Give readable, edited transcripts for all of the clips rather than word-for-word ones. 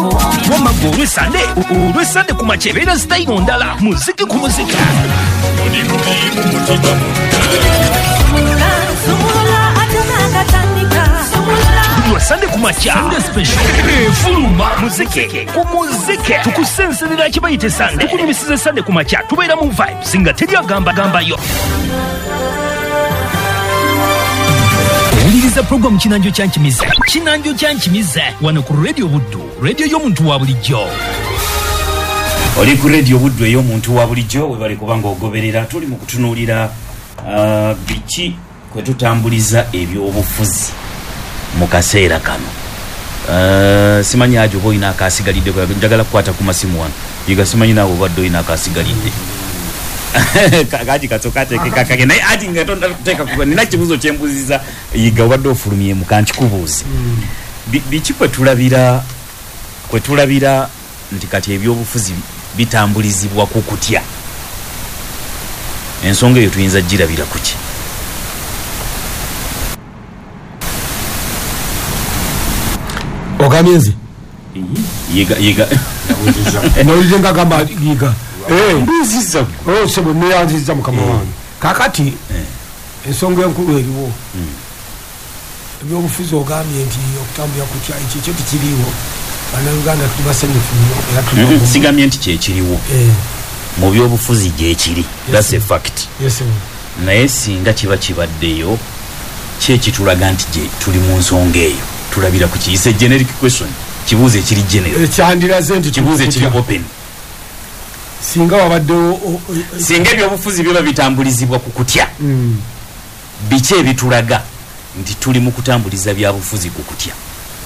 Wamma gwe olw'Essande, olw'Essande ku makya ebeera sitayiro ndala, muziki ku muziki. Buli lwa Ssande ku makya, Sunday Special efuluma muziki ku muziki. Tukusenserera kye bayita Essande, tukunyumisiza Essande ku makya, tubeera mu vibes nga teri agamba gambayo. Owuliriza pulogulaamu Kinanjo kya Nkimize, Kinanjo kya Nkimize wano ku Radio Buddu, radio y'omuntu wa bulijjo. Oli ku Radio Buddu ey'omuntu wa bulijjo, webale kuba ng'ogoberera. Tuli mu kutunuulira biki kwe tutambuliza ebyobufuzi mu kaseera kano. Simanyi ajo oba olina akasigalidde, njagala kukwata ku masimu wano. Yiga simanyi naawe obadde olina akasigalidde. Kaji katsoka ateeke kakage naye ati nga tonnateeka ku nina ekibuuzo kye mbuuzizza Yiga obadde ofulumyemu kankikubuuze. Biki kwe tulabira kwe tulabira nti kati ebyobufuzi bitambulizibwa ku kutya? Ensonga eyo tuyinza girabira ku ki? Ogambye nze? Yiga, Yiga. Nawulidde nga agamba Yiga. Mbuuzizza. Oh, ssebo, neeyanzizza mukama wange. Kaakati ensonga enkulu eriwo. Ebyobufuzi ogambye nti okutambulira kutya, ekyo kyo tekiriiwo. Bannayuganda tuli basanyufu nnyo era tuli bagumu. Sigambye nti kyekiriwo. Mu byobufuzi gyekiri. That's a fact. Yes, Naye singa kiba kibaddeyo, ki ekitulaga nti gye tuli mu nsonga eyo? Tulabira ku ki? It's a generic question. Kibuuzo ekiri general. Ekyandiraze nti Kibuuzo ekiri open. Singa wabaddewo Singa ebyobufuzi biba bitambulizibwa ku kutya, biki ebitulaga nti tuli mu kutambuliza byabufuzi ku kutya?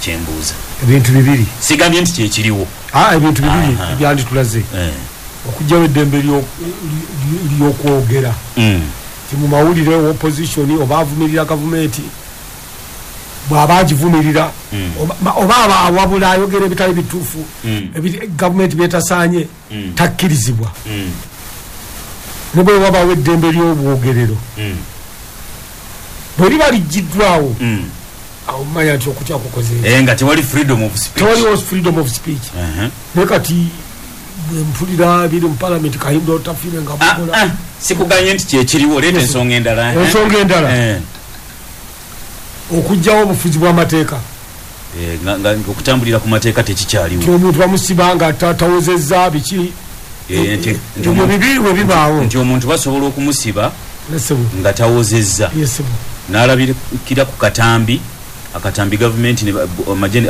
Kyembuuza. Ebintu bibiri. Sigambye nti kyekiriwo. Ebintu bibiri ebyanditulaze. Okuggyawo eddembe ly'okwogera. Nti mu mawulire opposition oba avumirira gavumenti, bw'aba agivumirira, oba aba awabula ayogera ebitali bituufu, gavumenti byetasaanye, takkirizibwa. Ne bwe wabaawo eddembe ly'obwogerero, bwe liba liggyiddwawo, awo mumanya nti okutya kukoze. Nga tewali freedom of speech. Tewaliwo freedom of speech. Naye kati bwe mpulira ebiri mu palamenti, Kahinda Otafiire nga bukola. Sikuganye nti kyekiriwo, leeta ensonga endala. Ensonga endala. Okuggyawo obufuzi bw'amateeka. Nga okutambulira ku mateeka tekikyaliwo. Nti omuntu bamusiba nga tawozezza biki. Ebyo bibiri bwe bibaawo. Nti omuntu basobola okumusiba nga tawozezza. N'alabikira ku katambi, akatambi gavumenti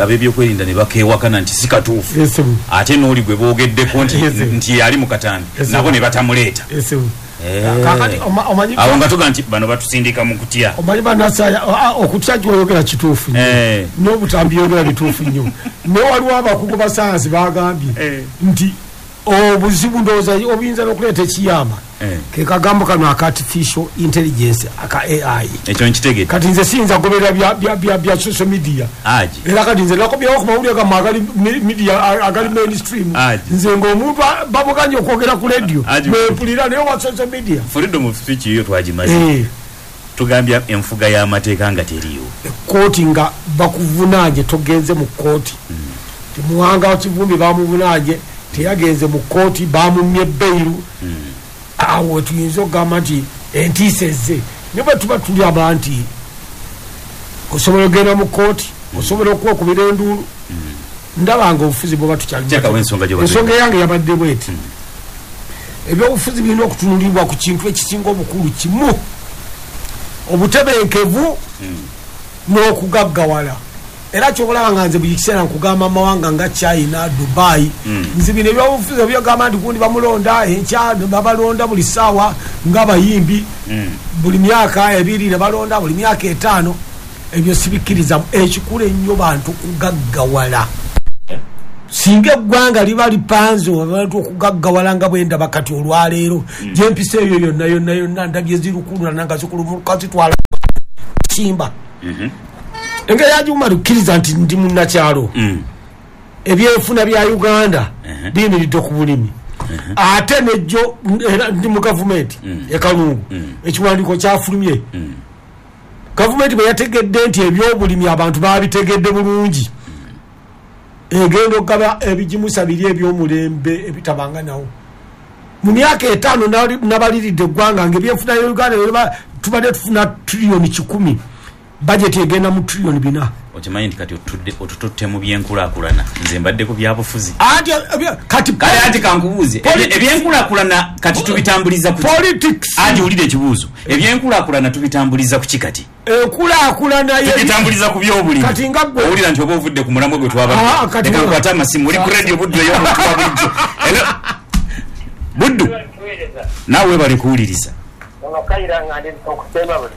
ab'ebyokwerinda ne bakeewakana nti si katuufu. Ate n'oli gwe boogeddeko nti yali mu katambi, nabo ne batamuleeta. Awo nga tuga nti bano batusindika mu kutya. Omanyi bannasaya, okutya gy'oyogera kituufu nnyo. N'obutambi yogera bituufu nnyo. Naye waliwo abakugu ba sayansi bagambye nti obuzibu ndowooza obuyinza n'okuleeta ekiyamba ke kagambo kano aka artificial intelligence aka AI. Ekyo nkitegedde. Kati nze siyinza kugoberera bya social media. Era kati nze nakomyewo ku mawulire gammwe agali media, agali mainstream. Nze ng'omuntu bamuganye okwogera ku radio, bwempulira naye wa social media. Freedom of speech yo twagimaze. Tugambye enfuga y'amateeka nga teriiwo. Ekkooti nga bakuvunaanye togenze mu kkooti. Muwanga Kivumbi bamuvunaanye teyagenze mu kkooti, bamumye bbeeru. Awo tuyinza okugamba nti entiisa ezze. Naye bwe tuba tuli aba nti osobola okugenda mu kkooti, osobola okwekubira enduulu. Ndaba nga obufuzi bw'oba tukyali Teekawo ensonga gy'obadde. Ensonga yange yabadde bw'eti. Ebyobufuzi birina okutunulibwa ku kintu ekisinga obukulu kimu, obutebenkevu n'okugaggawala. Era ky'okulaba nga nze buli kiseera nkugamba amawanga nga China, Dubai, nze bino ebyobufuzi ebyogamba nti gundi bamulonda enkya, babalonda buli ssaawa ng'abayimbi, buli myaka 2 ne balonda, buli myaka 5, ebyo sibikkiriza. Ekikulu ennyo bantu kugaggawala. Singa eggwanga liba lipanze abantu okugaggawala nga bwe ndaba kati olwaleero, gye mpisa eyo yonna yonna yonna ndabye zirukululana nga zikulumuka zitwala simba. Engeri ya Juma lukkiriza nti ndi munnakyalo. Ebyenfuna bya Uganda biyimiridde ku bulimi. Ate nejjo era ndi mu gavumenti e Kalungu, ekiwandiiko kyafulumye. Gavumenti bwe yategedde nti ebyobulimi abantu baabitegedde bulungi. Egenda okugaba ebigimusa biri ebyomulembe ebitabanga nawo. Mu myaka 5 nabaliridde eggwanga ng'ebyenfuna ya Uganda tubadde tufuna triliyoni 100, bajeti egenda mu triliyoni 4. Okimanyi nti kati otututte mu byenkulaakulana, nze mbadde ku byabufuzi. Kati kale anti kankubuuze, ebyenkulaakulana kati tubitambuliza ku politics? Anti wulira ekibuuzo, ebyenkulaakulana tubitambuliza ku ki kati? Enkulaakulana tubitambuliza ku byobulimi. Kati nga ggwe owulira nti oba ovudde ku mulamwa gwe twabadde. Leka nkwate amasimu. Oli ku radio Buddu ey'omuntu wa bulijjo. Buddu, naawe webale kuwuliriza.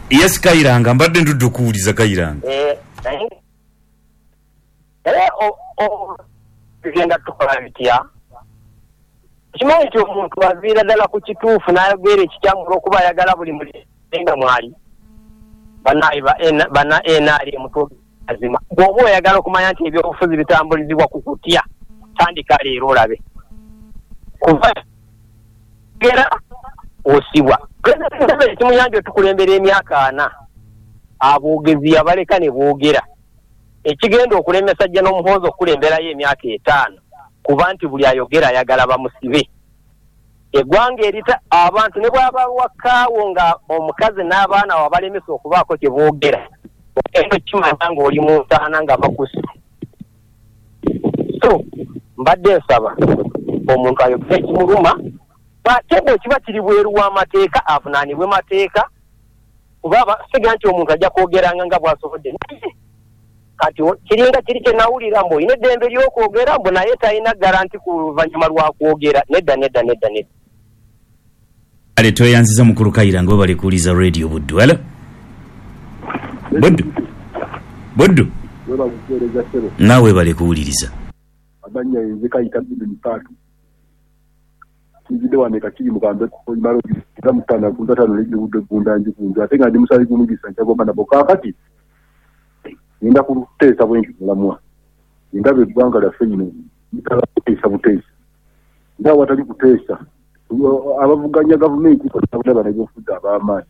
Yes, Kayiranga, mbadde ndudde okuwuliza Kayiranga. Tugenda tukola bitya? Kimanyi nti omuntu aviira ddala ku kituufu n'ayogera ekikyamu olw'okuba ayagala buli mulenga mwali. Banna NRM azima. Bw'oba oyagala okumanya nti ebyobufuzi bitambulizibwa ku kutya, tandika leero olabe. Kuva gera osibwa. Pulezidenti Museveni kimuyambye otukulembera emyaka 4. Aboogezi yabaleka ne boogera. Ekigenda okulemesa Jja n'Omuhoozi okukulemberayo emyaka 5 kuba nti buli ayogera ayagala bamusibe. Eggwanga erita abantu ne bw'aba wakaawo nga omukazi n'abaana wabalemesa okubaako kye boogera, ogenda okimanya ng'oli mu ntaana nga bakusse. So mbadde nsaba omuntu ayogere ekimuluma, ate bwe kiba kiri bweru w'amateeka avunaanibwe mateeka, kuba siga nti omuntu ajja kwogeranga nga bw'asobodde. Naye kati kiringa kiri kye nawulira mbu olina eddembe ly'okwogera mbu naye talina garanti ku luvannyuma lwa kwogera. Nedda nedda nedda nedda. Ale tweyanziza mukulu Kayiranga, webale kuwuliza radio Buddu. Hello Buddu, Buddu naawe webale kuwuliriza. Amannya nze Kayita Biduni Paatu. Nzidde wano e Kakiri mu Kambe Malo nga mutaano ku ntatano n'ejjubudde eggunda njikunze ate nga ndi musaayi gumugisa nkyagomba nabo. Kaakati ngenda kuteesa bwe nti mulamwa ndaba eggwanga lyaffe lino litala kuteesa buteesa, nga awatali kuteesa abavuganya gavumenti bonna bannabyabufuzi ab'amaanyi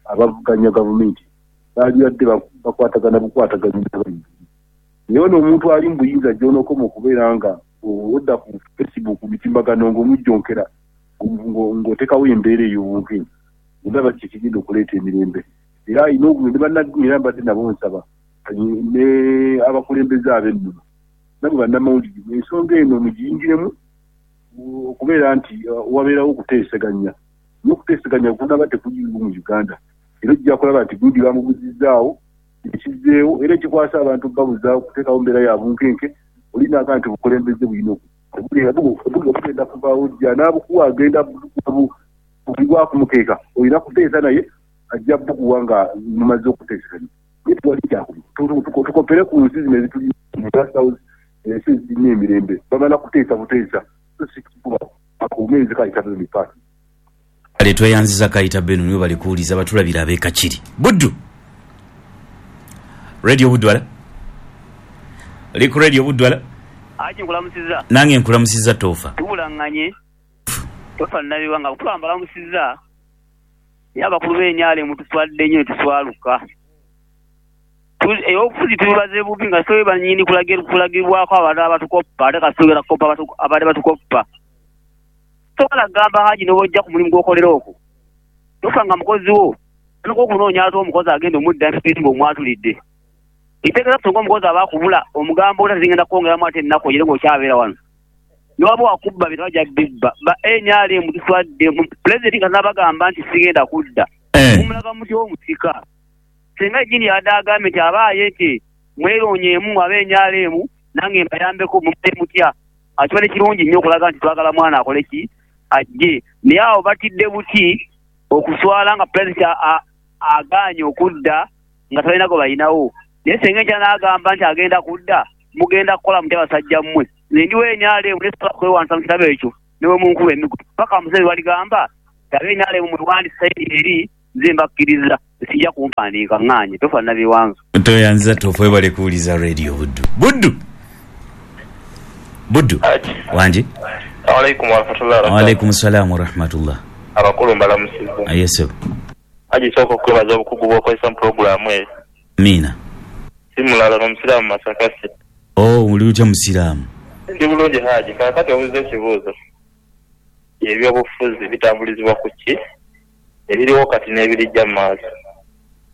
abavuganya gavumenti baalibadde bakwatagana bukwataganya n'abali. Naye ono omuntu ali mu buyinza gy'onookoma okubeera nga odda ku Facebook mitimbagano ng'omujjonkera ng'oteekawo embeera ey'obunkenke, ndaba kye kigenda okuleeta emirembe. Era alina ne bannaddiini era mbadde nabo nsaba ne abakulembeze ab'ennono nabo bannamawulire ensonga eno mugiyingiremu okubeera nti wabeerawo okuteeseganya. Naye okuteeseganya kunaba tekuliiwo mu Uganda, era ojja kulaba nti gundi bamubuzizzaawo ekizzeewo, era ekikwasa abantu babuzaawo kuteekawo mbeera ya bunkenke. Olina nti obukulembeze bulina bugenda kuvaawo jja n'abukuwa agenda bugwa kumukeeka, olina kuteesa naye ajja bukuwa nga mumaze okuteeseganya. Naye tewali kyakubiri, tukopere ku nsi zino ezituli South, ensi ezirina emirembe bamala kuteesa buteesa, so si kikuba akumeezi Kayita Benoni Paatu. Ale tweyanziza Kayita Benoni, webale kuwuliza batulabira ab'e Kakiri. Buddu, radio Buddu. Ala oli ku radio Buddu. Ala Aji nkulamusiza. Nange nkulamusiza Toofa. Tubulaŋŋanye Tofa Nabiwa nga kuba mbalamusiza, naye abakulu b'NRM tuswadde nnyo ne tuswaluka. Ebyobufuzi tubibaze bubi nga si bannyini kulagibwako abantu abatukoppa, ate kasitugenda kukopa abadde batukoppa. Tosobola kugamba Haji n'obwojja ku mulimu gw'okolera okwo tofa nga mukozi wo tandika okunoonya ate omukozi agenda omudda ng'omwatulidde. Ekitegeeza singa omukozi aba akubula omugamba ota zigenda kwongeramu ate ennaku ogire ng'okyabeera wano. Newaba wakubba bino bajja bibba. Ba NRM tuswadde. Pulezidenti nga nabagamba nti sigenda kudda. Mumulaga mutya omusika? Singa ejjini yabadde agambye nti abaaye nti mweroonyeemu abe NRM nange mbayambeko, mumale mutya? Akibadde kirungi nnyo okulaga nti twagala mwana akole ki ajje. Naye awo batidde buti okuswala nga pulezidenti agaanye okudda nga talina gwe balinawo. Naye singa enkya n'agamba nti agenda kudda, mugenda kukola mutya basajja mmwe? Nze ndi wa NRM naye sisobola kwewandiisa mu kitabo ekyo ne bwe munkuba emiggo. Paka Museveni lw'aligamba nti abe NRM mwewandiise eri nze mbakkiriza, sijja kumpandiika ŋŋaanye. Tofa Nabiwanzo. Toyanza Tofa, webale kuwuliza radio Buddu. Buddu, Buddu wangi. Alaikum warahmatullahi wabarakatuh. Waalaikum salaam warahmatullah. Abakulu mbalamusiza. Aye sebo. Haji sooka okwebaza obukugu bw'okozesa mu pulogulaamu eyo. Amiina. Si mulala n'omusiraamu Masakase. Oh, oli otya musiraamu? Ndi bulungi Haji. Kaakati obuuza ekibuuzo. Ebyobufuzi bitambulizibwa ku ki? Ebiriwo kati n'ebirijja mu maaso.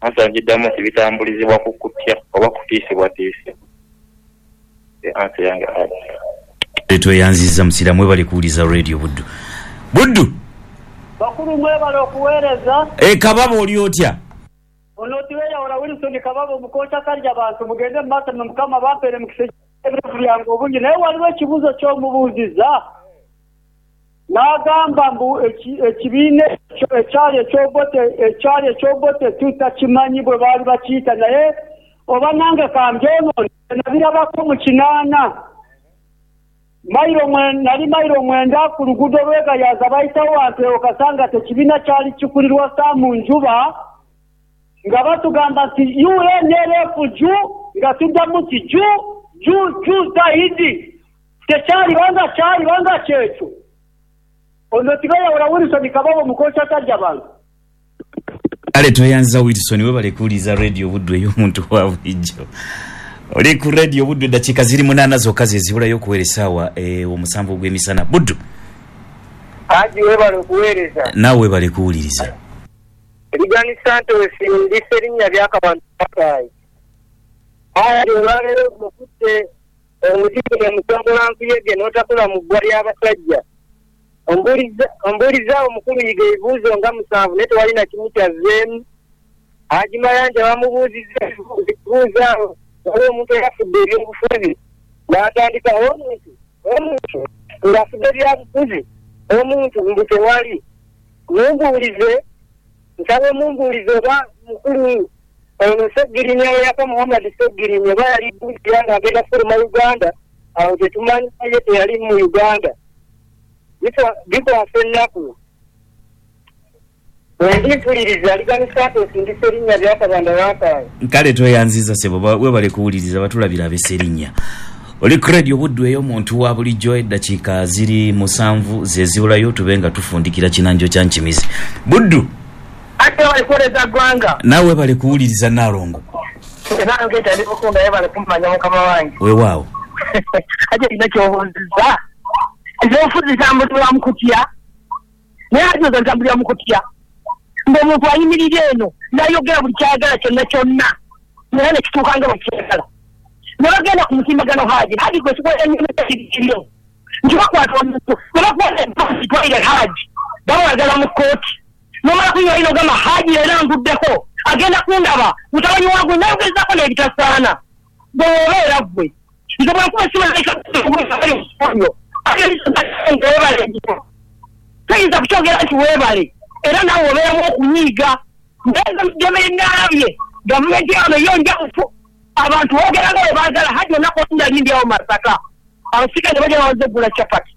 Ansa ngiddamu nti bitambulizibwa ku kutya oba kutiisibwatiisibwa. Ansa yange Haji. Tweyanzizza musiraamu, webale kuwuliza Radio Buddu. Buddu! Bakulu mwebale okuweereza. E Kababa oli otya? Ono tiweyawula Wilson Kababa omukoca kalya bantu mugende mu maaso ne Mukama bampeere mukisa ebirevu byange obungi. Naye waliwo ekibuuzo ky'omubuuzizza n'agamba mbu ekibiina ekyali eky'Obote tutakimanyi bwe baali bakiyita, naye oba nange kambyonoone nabirabako mu 8. Nali mayiro 9 ku luguudo lw'eGayaza bayitawo wantu ewo Kasanga tekibiina kyali kikulirwa Saamu Njuba, nga batugamba nti UNLF ju, nga tuddamu nti ju ju ju zaidi. Tekyalibanga kyalibanga kyekyo. Ono tibayawula Wilson Kababa omukoca talya bantu. Kale tweyanziza Wilson, webale kuwuliza Radio Buddu ey'omuntu wa bulijjo. Oli ku Radio Buddu, eddakiika ziri 8 zokka ze zibulayo okuwera essaawa 7 ogw'emisana. Buddu. Haji webale okuweereza. Naawe webale kuwuliriza. Ligani Santos ndi Sserinnya by'Akabantu Akaayi. Haji olwaleero okutte omuziki ne mutongola nkuyege n'otakula mu ggwa ly'abasajja. Ombuulizaawo omukulu Yiga ebibuuzo nga 7 naye tewali na kimu kyazzeemu. Haji Mayanja bamubuuzizza ebibuuzo awo, waliwo omuntu eyafudde ebyobufuzi n'atandika omuntu ng'afudde ebyabufuzi, omuntu mbu tewali. Mumbuulize, nsaba mumbuulize oba mukulu ono Ssegirinya eyaka Muhammad Ssegirinya oba yali ddukira ng'agenda kufuluma Uganda, awo tetumanyi ye teyali mu Uganda. Bikwasa ennaku. Bwe mpuliriza Ligani Santos ndi Sserinnya by'Akabanda Wakaayi. Kale tweyanziza ssebo, webale kuwuliriza, batulabira ab'Esserinnya. Oli ku Radio Buddu ey'omuntu wa bulijjo, eddakiika ziri 7 ze zibulayo tube nga tufundikira kinanjo kya Nkimizi. Buddu. Ate webale kuweereza ggwanga. Naawe webale kuwuliriza Naalongo. Nange etandika okunda webale kumanya mukama wange. Weewaawo. Ate olina ky'obuuzizza. Ebyobufuzi bitambulirwa mu kutya. Naye ate zo bitambulirwa mu kutya. Ng'omuntu ayimirira eno n'ayogera buli ky'ayagala kyonna kyonna, naye ne kituuka nga bwe kyagala. Ne bagenda ku mutimbagano Haji, Haji gwe tukola ennyo nti bakwata omuntu, ne bakwata empasi twalire Haji, bamwagala mu kkooti. N'omala kunywa ino ogamba Haji leero nguddeko, agenda kundaba, mutabani wange n'ayogezaako n'ebitasaana. Gwe obeera ggwe. Nze bwe nkuba essimu toyinza kukyogera nti weebale, era naawe obeeramu okunyiiga. Naye naalabye gavumenti yano yo njabufu, abantu boogera nga bwe baagala. Haji olunaku olumu nali ndi awo Masaka, abasirikale ne bajja bawaze eggula capati.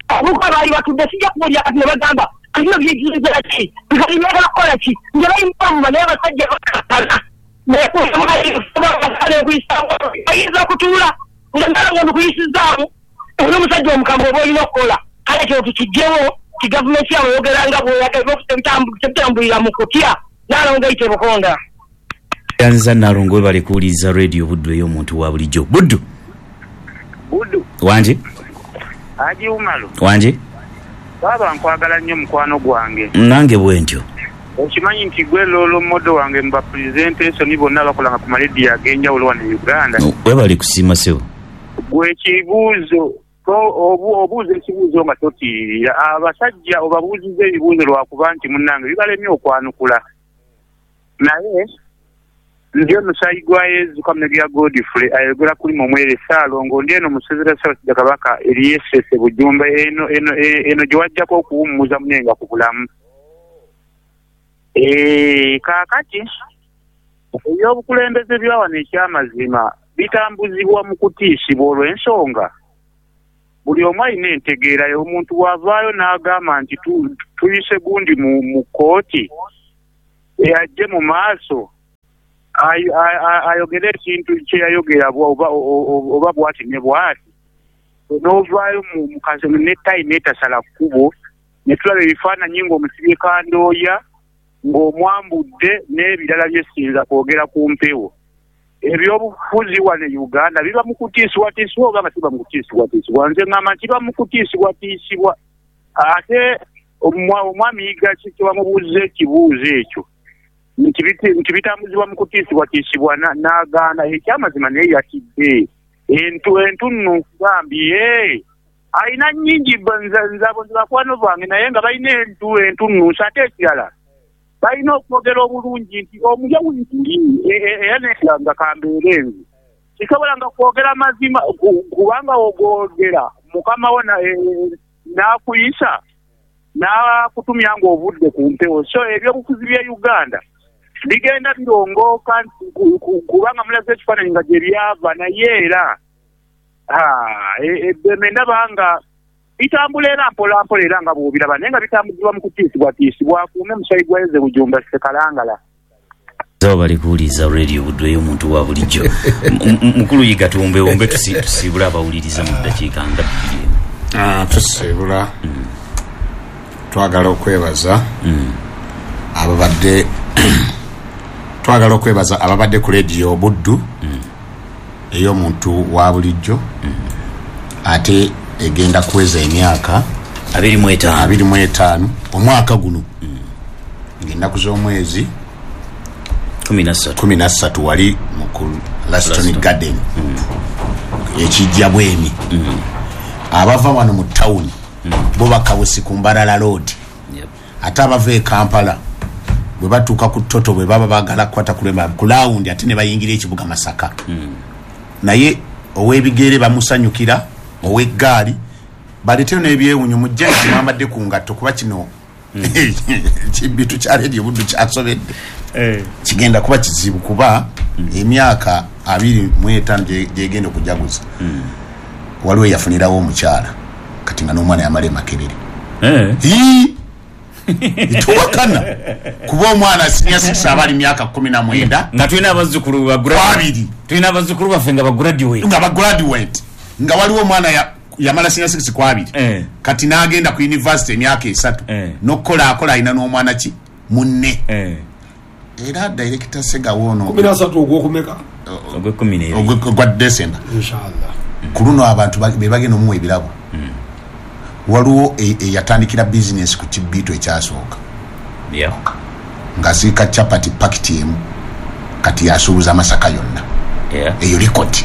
Abavubuka baali batudde, sijja kubuulira kati, ne bagamba bino byejjinza ki, bikati byagala kukola ki, nge bayimba naye abasajja bakakana. Bayinza okutuula nga nalongo ndikuyisizaamu era omusajja omukambwe oba olina okukola. Kale kyo tukigyewo ti gavumenti yawe eyogera nga bw'oyagala, tebitambulira mu kutya. Nalongo eyite Bukonda. Yanziza Nalongo, webale kuwuliriza Radio Buddu ey'omuntu wa bulijjo. Buddu. Buddu. Wangi. Haji Umaru. Wangi. Baaba nkwagala nnyo mukwano gwange. Nange bwentyo. Okimanyi nti gwe role model wange mu ba presentation bonna abakolanga ku marediyo ag'enjawulo wano e Uganda. Webale kusiima ssebo. Gwe ekibuuzo obuuza ekibuuzo nga totiirira. Abasajja obabuuzizza ebibuuzo lwakuba nti munnange bibalemye okwanukula. Naye ndi omusaayi gwa Yezu Kamunege Godfrey ayogera kuli Mumwere Ssaalongo, ndi eno Musezera Ssaabasajja Kabaka eriyesese Bujumba eno eno eno gye wajjako okuwummuza munenga ku bulamu. Kaakati ebyobukulembeze bya wano ekyamazima bitambuzibwa mu kutiisibwa olw'ensonga buli omu alina entegeera ye. Omuntu bw'avaayo n'agamba nti tuyise gundi mu kkooti ajje mu maaso ayogere ekintu kye yayogera oba bw'ati ne bw'ati, n'ovaayo mu kasono ne ttayi n'etasala kkubo ne tulaba ebifaananyi ng'omusibye kandooya ng'omwambudde n'ebirala bye siyinza kwogera ku mpewo. Ebyobufuzi wano e Uganda biba mu kutiisibwatiisibwa oba nga kiba mu kutiisibwatiisibwa? Nze ŋŋamba nti kiba mu kutiisibwatiisibwa. Ate omwami Yiga kyebamubuuza ekibuuzo ekyo nti bitambuzibwa mu kutiisibwatiisibwa, n'agaana. Ekyamazima naye yatidde entunnu nkugambye alina nnyingi, nzabo nze bakwano bange, naye nga balina entunnunsi. Ate ekirala balina okwogera obulungi nti omulya wiguli, era nga kambeere nze kisobola nga kwogera mazima, kubanga ogwogera mukama wo n'akuyisa n'akutumya ng'ovudde ku mpewo. So ebyobufuzi bya Uganda bigenda birongooka, kubanga mulaze ekifaananyi nga gye byava, naye era eddembe ndaba nga bitambula era mpola mpola, era nga bw'obiraba, naye nga bitambuzibwa mu kutiisibwatiisibwa. Akuume musayi gwa Eze Bujumba Ssekalangala. Zabo bali kuwuliriza Radio Buddu ey'omuntu wa bulijjo. Mukulu Yiga, tuwumbewumbe tusiibule abawuliriza mu ddakiika nga 2. Tusiibula twagala okwebaza ababadde, twagala okwebaza ababadde ku Radio Buddu ey'omuntu wa bulijjo, ate egenda kuweza emyaka 25 25 omwaka guno, ng'ennaku z'omwezi 13 wali mu Laston Garden ekijja bwemi. Abava wano mu tawuni bo bakawusi ku Mbarara Road, ate abava e Kampala bwe batuuka ku Toto bwe baba baagala kukwata ku lawundi, ate ne bayingira ekibuga Masaka. Naye ow'ebigere bamusanyukira, ow'eggaali baleeteyo n'ebyewunyo, mujje nti mwambadde ku ngatto, kuba kino kibitu kya Radio Buddu kyasobedde, kigenda kuba kizibu, kuba emyaka 25 gyegenda okujaguza. Waliwo eyafunirawo omukyala kati nga n'omwana yamala e Makerere. Tuwakana kuba omwana senior 6 aba ali myaka 19, nga tulina abazzukulu babiri, tulina abazzukulu baffe nga bagraduate, nga waliwo omwana yamala senior 6 ku 2, kati n'agenda ku university emyaka 3 n'okukola akola, alina n'omwana ki munne. Era director Segawo ono 13 ogw'okumeka ogwa December inshallah ku luno abantu be bagenda omuwa ebirabo. Waliwo eyatandikira bizinesi ku kibiito ekyasooka ng'asiika chapati pakiti emu, kati yasuubuza Masaka yonna, eyo likoti.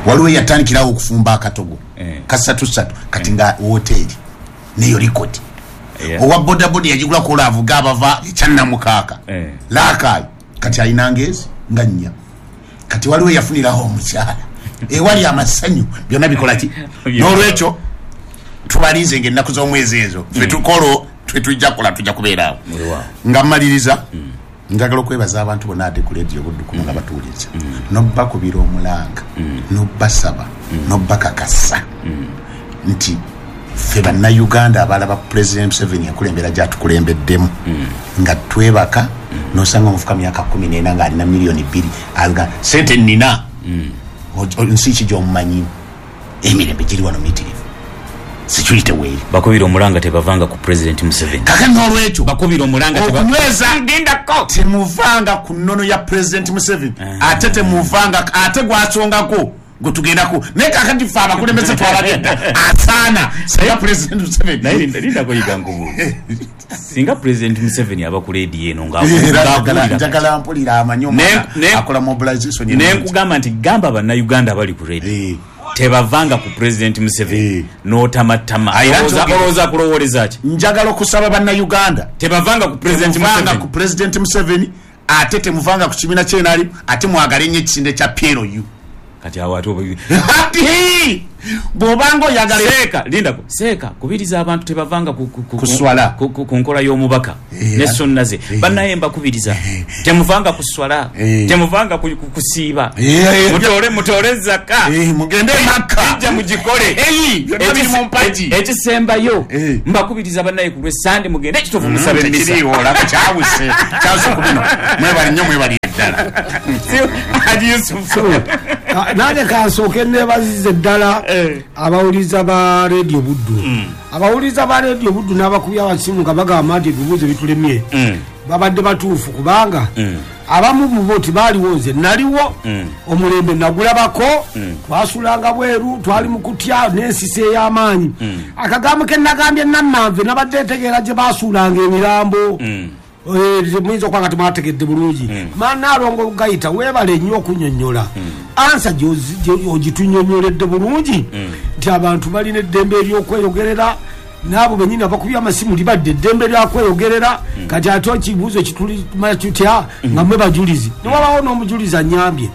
Waliwo eyatandikirawo okufumba akatogo ka 3-3, kati nga woteeri, neyo likoti. Owa bodaboda yagigula kola avuga abava ekyannamukaaka laakaayi, kati alina ngezi nga 4. Kati waliwo eyafunirawo omukyala ewali amasanyu, byonna bikola ki. N'olwekyo tubalinze ng'ennaku z'omwezi ezo ffe tukolo tujja kukola, tujja kubeeraawo. Nga mmaliriza, njagala okwebaza abantu bonna ate ku Radio Buddu kuno nga batuwuliriza, n'obbakubira omulanga, n'obbasaba, n'obbakakasa nti ffe Bannayuganda abalaba President Museveni enkulembera gyatukulembeddemu, nga twebaka n'osanga omufuka myaka 14 ng'alina miliyoni 2, aga sente nnina, nsi ki gy'omumanyi, emirembe giri wano miyitirivu, security weeri. Bakubira omulanga tebavanga ku President Museveni. Kaka n'olwekyo bakubira omulanga okunyweza temuvanga ku nnono ya President Museveni, ate temuvanga, ate gwasongako gwe tugendako. Naye kakati ffe abakulembeze twabagenda asaana singa President Museveni. Naye lindako Yiga nkubuuza, singa President Museveni aba ku leediyo eno njagala mpulira amanyi omwana akola mobilization. Nenkugamba nti gamba Bannayuganda abali ku radio tebavanga ku President Museveni, n'otamatama, olowooza kulowooleza ki? Njagala okusaba Bannayuganda tebavanga ku President Museveni, ku President Museveni, ate temuvanga ku kibiina kyenali, ate mwagale nnyo ekisinde kya PLU. Kati awo ate bw'obanga oyagala seeka, lindako seeka, kubiriza abantu tebavanga ku swala, ku nkola y'omubaka ne sunna ze. Bannaye mbakubiriza, temuvanga ku swala, temuvanga kusiiba, mutole mutole zaka, mugende Makka, ijja mugikole. Byonna biri mu mpagi. Ekisembayo, mbakubiriza bannaye ku lw'Essande mugende ekitovu musabe misa. Tekiriiwo, olaba kyawuse kyawuse ku bino. Mwebali nnyo, mwebali ddala. Haji Yusufu. Nange kansooke nebazize ddala abawuliza ba Radio Buddu, abawuliza ba Radio Buddu n'abakubi abasimu nga bagamba nti ebibuuzo bitulemye, babadde batuufu, kubanga Abamu mubo tibaaliwo, nze naliwo, omulembe nagulabako, twasulanga bweru, twali mu kutya n'ensisi ey'amaanyi. Akagambo ke nagambye Nammanve, nabadde ntegeera gye basuulanga emirambo. Muyinza okuba nga temwategedde bulungi. Manaalongo Gayita, weebale nnyo okunyonnyola answer ogitunyonnyoledde bulungi nti abantu balina eddembe eryokweyogerera, naabo benyini abakubye amasimu libadde eddembe lyakweyogerera. Kati ate ekibuuzo kitulimanya tutya nga mwe bajulizi? Newabawo n'omujulizi anyambye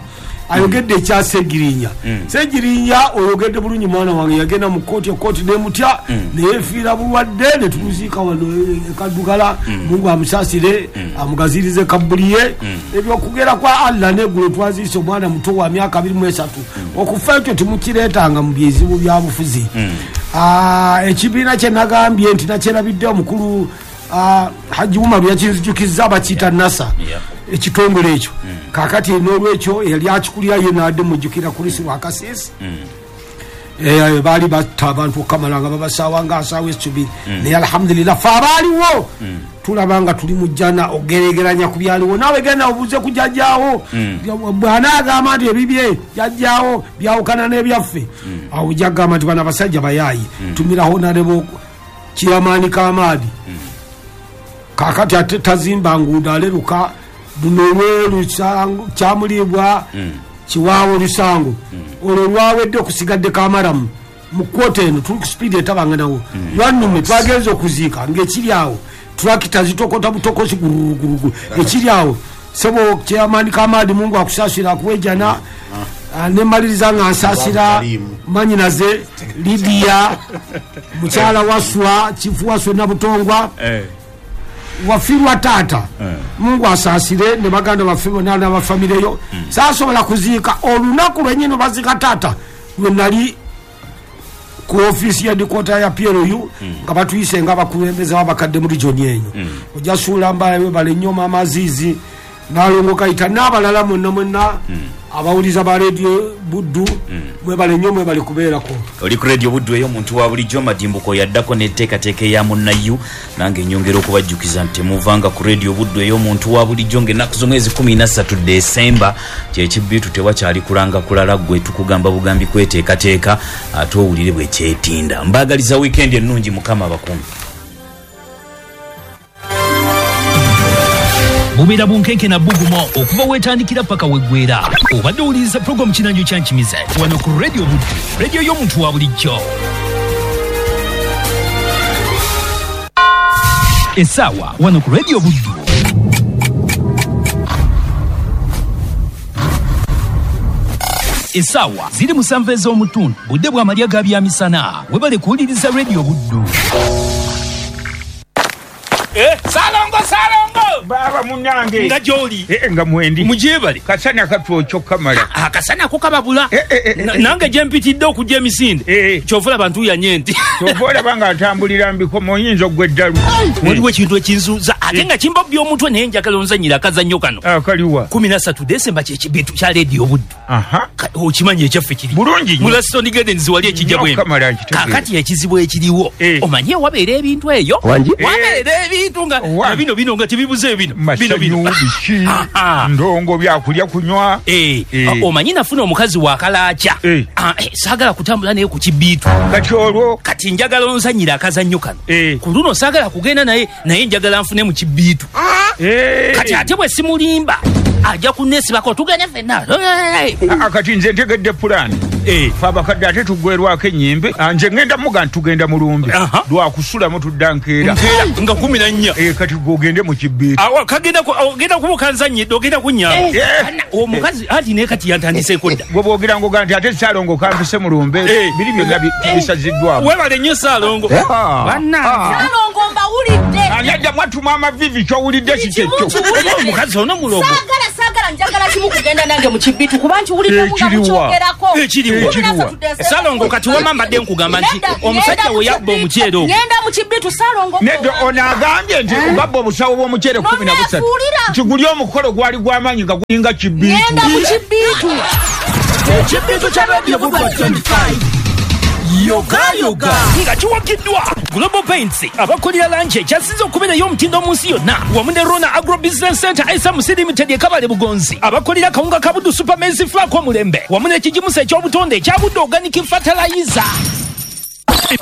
ayogedde ekya Segirinya. Segirinya oyogedde bulungi mwana wange, yagenda mu kooti, ekooti nemutya neyefiira bulwadde, netumuziika wano ekaddugala. Mungu amusaasire, amugazirize kabuliye. Ebyokugera kwa Allah, neggulo twaziise omwana muto wa myaka 23. Okufa ekyo temukireetanga mu byezibu bya bufuzi. Ekibiina kye nagambye nti nakyerabidde, omukulu Haji Umaru yakinzijukizza, bakiyita NASA ekitongole ekyo. Kakati n'olwekyo eyali akikulira ye naadde mujjukira Kulisi Lwakasiisi. Baali batta abantu okukamala nga babasaawa nga asaawa essubi, naye alhamdulillah fe abaaliwo tulaba nga tuli mu jjana ogeregeranya ku byaliwo. Naawe genda obuuze ku jjajjaawo, bw'anaagamba nti ebibye jjajjaawo byawukana n'ebyaffe, awo ojja kugamba nti bano abasajja bayaayi. Tumiraho nalebo Kiyamaani Kamaadi, kakati ate tazimba nguudo, aleruka luno olweru Kyamuliibwa Kiwaawo Lusango, olwo lwawedde okusigadde Kamaramu mu kwota eno tuli ku sipiidi etabanganawo. Lwannume twagenza okuziika ng'ekiri awo tulakita zitokota butokosi guruguruguru ekiri awo. Sebo Kyeyamaani Kamaadi, Mungu akusaasira, akuwejana. Nemaliriza nga nsaasira manyinaze Lidiya, mukyala Waswa, Chifu Waswa Nabutongwa, wafiirwa taata. Mungu asaasire ne baganda baffe bonna n'abafamireyo. Saasobola kuziika olunaku lwennyini baziika taata, lwe nali ku ofiisi ya dikota ya PLU nga batuyise nga abakulembeze b'abakadde mu region eyo. Ojja suula mbala, webale nnyo Maama Aziizi, Nalongo Kayita n'abalala mwenna mwenna abawuliza ba Radio Buddu, mwebale nnyo, mwebale kubeerako. Oli ku Radio Buddu ey'omuntu wa bulijjo. Madimbuko yaddako n'enteekateeka eya munnayu. Nange nyongera okubajjukiza nti temuvanga ku Radio Buddu ey'omuntu wa bulijjo, ng'ennaku z'omwezi 13 Desemba kyekibbiitu, tewakyali kulanga kulala, ggwe tukugamba bugambi kweteekateeka ate owulire bwe kyetinda. Mbaagaliza wiikendi ennungi, Mukama abakuumi. Bubeera bunkenke na bbugumo okuva weetandikira paka weggwera. Obadde owuliriza pulogulaamu Kinanjo Kyankimize wano ku Radio Buddu, radio y'omuntu wa bulijjo. Essaawa wano ku Radio Buddu essaawa ziri 7 ez'omutundu, budde bw'amalya ga byamisana. Webale kuwuliriza Radio Buddu. Salongo, Salongo! Baba munange. Nga gy'oli? Nga mwendi. Mugyebale. Kasana katwokyo kamala. Akasana ko kababula. Nange gye mpitidde okujja emisinde, kyova olaba ntuuyanye nti. Kyova olaba nga ntambulira mbikomo, oyinza oggwa eddalu. Waliwo ekintu ekinzuuza ate nga kimbobya omutwe, naye njagala onzannyire akazannyo kano. Akaliwa? 13 Desemba kyekibitu kya Lediyo Buddu. Okimanyi ekyaffe kiri bulungi. Mu Laston Gardens wali ekijja bwembi. Kamala nkitegeera. Kakati ekizibu ekiriwo, omanyi wabeera ebintu eyo, wabeera ebintu nga bino bino nga tebibuze bino bino bino. Biki, ndongo, byakulya, kunywa. Omanyi nafuna omukazi wakalaaca, saagala kutambula naye ku kibiitu. Kati olwo? Kati njagala onzannyire akazannyo kano. Ku luno saagala kugenda naye, naye njagala nfune mu kibiitu. Kati ate bwe simulimba ajja kunneesibako tugende ffenna. Kati nze ntegedde pulaani. Fe abakadde ate tuggwerwako ennyimbe. Nze ngenda muga nti tugenda mulumbe lwakusulamu, tudda nkeera. Nga 14. Kati gwe ogende mu kibiitu. Ogenda kuba okanzannyidde, ogenda kunnyamba omukazi anti naye kati yantandiseeko dda. Gwe bwogira ngoga nti ate Saalongo kampise mulumbe, biri byonna bisaziddwamu. Webale nnyo Saalongo. Saalongo, mbawulidde. Ani adda mwatuma amavivi? Kyowulidde kikyekyo. Omukazi ono mulogo. Saagala, saagala, njagala kimu, kugenda nange mu kibitu, kuba nkiwuliddemu nga mukyogerako. Ekiriwo, Salongo, kati wama mbadde nkugamba nti omusajja we yabba omuceere ogwo. Ngenda mu kibitu, Salongo. Nedda, ono agambye nti babba obusawo bw'omuceere 13, nti guli omukolo gwali gw'amaanyi nga gulinga kibiitu. Ngenda mu kibitu. Ekibitu kya Radio Buddu 25. Yogayoga Nga kiwagiddwa Global Paints, abakolera langi ekyasinze okubeera ey'omutindo mu nsi yonna, wamu ne Rona Agro Business Center SMC Limited ekabale Bugonzi, abakolera kawunga ka Buddu Super Maize Flour omulembe, wamu n'ekigimusa eky'obutonde ekya Buddu Organic Fertilizer.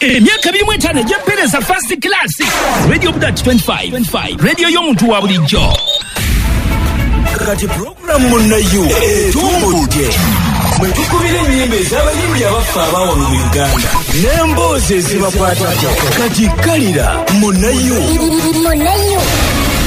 Emyaka 25 egy'empeereza first class. Radio Budat 25 25, radio y'omuntu wa bulijjo. Kati pulogulamu Munnayo etumbudde mwe tukubira ennyimba ez'abayimbi abaffe abawano mu Uganda n'emboozi ezibakwatako. Kati kalira Munnayo. Munnayo.